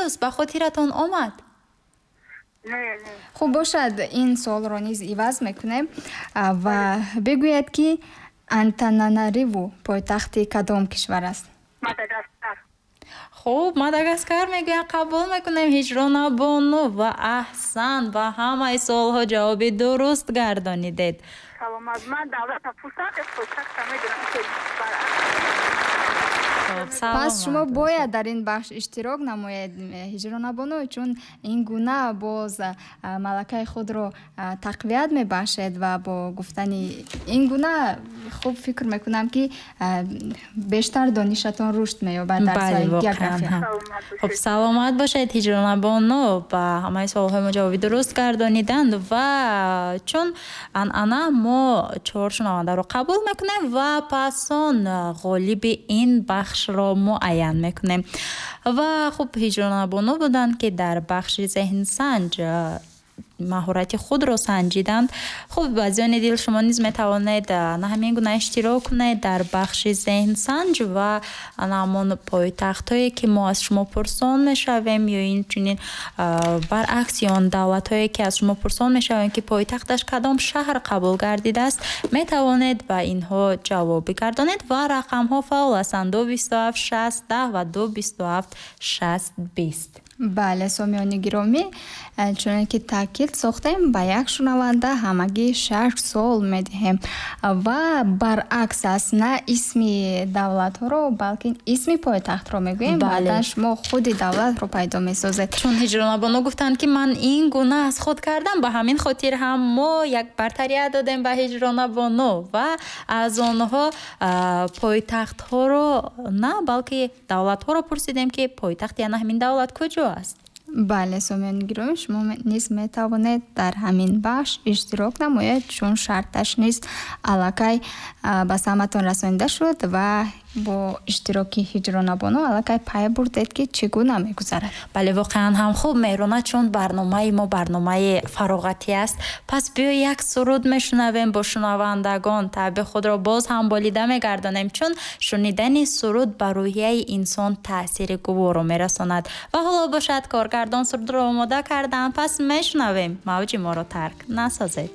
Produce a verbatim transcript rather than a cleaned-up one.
Мавришиус ба хотиратон омад? Не, не. Хуб бошад, ин суолро низ иваз мекунем ва бигӯяд, ки Антананариву пойтахти кадом кишвар аст? Мадагаскар. Хуб, Мадагаскар мегӯянд, қабул мекунем, Ҳиҷронабону, ва аҳсан, ба ҳамаи суолҳо ҷавоби дуруст гардонидед. Саломат. Ман давлата пурсам, пойтахта медонам. Пас шумо бояд дар ин бахш иштирок намоед, Ҳиҷронабону, чун ин гуна боз малакаи худро тақвият мебахшед ва бо гуфтани ин гуна хуб фикр мекунам, ки бештар донишатон рушд меёбад дар соҳаи география. Хуб, саломат бошед, Ҳиҷронабону, ба ҳамаи суолҳои мо ҷавоби дуруст гардониданд. Ва чун анъана, мо чор шунавандаро қабул мекунем ва пас он ғолиби ин бахшро муайян мекунем. Ва хуб, Ҳиҷронабону буданд, ки дар бахши зеҳнсанҷ маҳорати худро санҷиданд. Хуб, азизони дил, шумо низ метавонед на ҳамин гуна иштирок кунед дар бахши зеҳнсанҷ ва на ҳамон пойтахтҳое, ки мо аз шумо пурсон мешавем, ё инчунин баръакси он давлатҳое, ки аз шумо пурсон мешавем, ки пойтахташ кадом шаҳр қабул гардидааст, метавонед ба инҳо ҷавоб бигардонед. Ва рақамҳо фаъол ҳастанд: ду бисту ҳафт шаст даҳ ва ду бисту ҳафт шаст бист. Бале, сомиёни гиромӣ, чуноне ки таъкид сохтем, ба як шунаванда ҳамагӣ шаш суол медиҳем ва баръакс аст: на исми давлатҳоро, балки исми пойтахтро мегӯем, баъдан шумо худи давлатро пайдо месозед. Чун Ҳиҷронабону гуфтанд, ки ман ин гуна аз худ кардам, ба ҳамин хотир ҳам мо як бартарият додем ба Ҳиҷронабону ва аз онҳо пойтахтҳоро на, балки давлатҳоро пурсидем, ки пойтахти ана ҳамин давлат куҷо аст. Бале, сомиёни гиромӣ, шумо низ метавонед дар ҳамин бахш иштирок намоед, чун шарташ низ аллакай ба самъатон расонида шуд ва бо иштироки Ҳиҷронабону аллакай пай бурдед, ки чӣ гуна мегузарад. Бале, воқеан ҳам. Хуб, Меҳрона, чун барномаи мо барномаи фароғатӣ аст, пас биё як суруд мешунавем, бо шунавандагон таъби худро боз ҳам болида мегардонем, чун шунидани суруд ба рӯҳияи инсон таъсири гуворо мерасонад. Ва ҳоло бошад, коргардон сурудро омода карданд, пас мешунавем. Мавҷи моро тарк насозед.